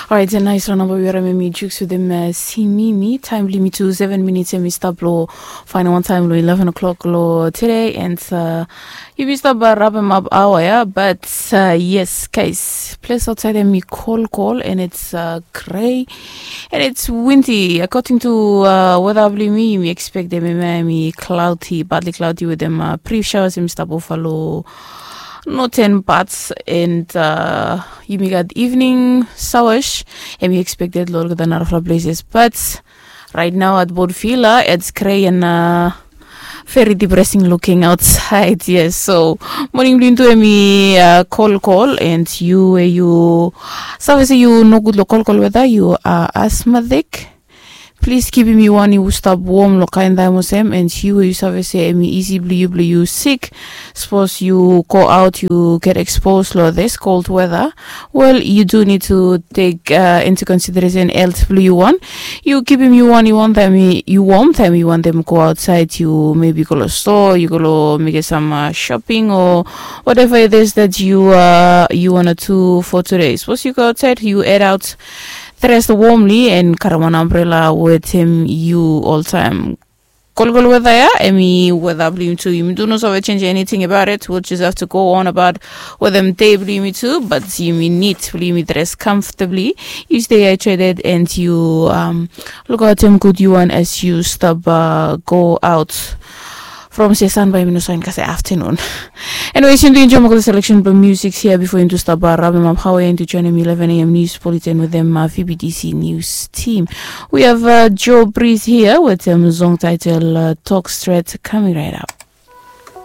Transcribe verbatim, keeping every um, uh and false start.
Orait, nais long namba we yumi harim em i Jukes wetem Simimi. Taem blong yumi tu seven minits, em i stap long faenem wan taem long eleven o'clock long tede, and yumi stap rapem ap aoa ya. But yes, guys, ples aotsaed em i kolkol, and it's grey, and it's windy. According to weta blong yumi, yumi expectem em i cloudy, partly cloudy wetem brief showers em i stap ofa long northern parts, and yumi gat evening showers em i expected long olgeta narafala places. But right now at Port Vila, it's grey and very depressing looking outside. Yes, so moning blong yumi tu em i kolkol, and yu we yu save se yu nogud long kolkol weta, yu asthmatic, plis givim yu wan yu stap wom long kaen taem olsem, and yu we yu save se em i isi blong yu blong yu sik. Sapos yu go aot, yu get expose long this cold weather, well, you do need to take into consideration health blong yu wan. Yu givim yu wan yu wan taem yu wom, taem yu wantem go aotsaed, yu maybe go long stoa, yu go long mekem sam shopping o whatever it is that you uh, you wanna do for today. Sapos yu go aotsaed, yu head out dressed warmly and karem wan ambrela wetem yu oltaem. Kolkol weta ya em i weta blong yumi tu. Yumi tu no save change anything about it. We'll just have to go on about wetem dei blong yumi tu, but yumi nid blong yumi dress comfortably. Yu stay hydrated and yu um, lukaotem gud yu wan as yu stap uh, go aot. From se san bae yumi no saen kasem afternoon. Anyways, yumi tu enjoem olgeta selection blong music hia bifo yumi tu stap uh, rapem ap aoa ya, yumi tu joenem eleven a.m. news bulletin wetem uh, V B T C news team. We have uh, Joe Breeze hia wetem song title uh, Talk Straight coming right up.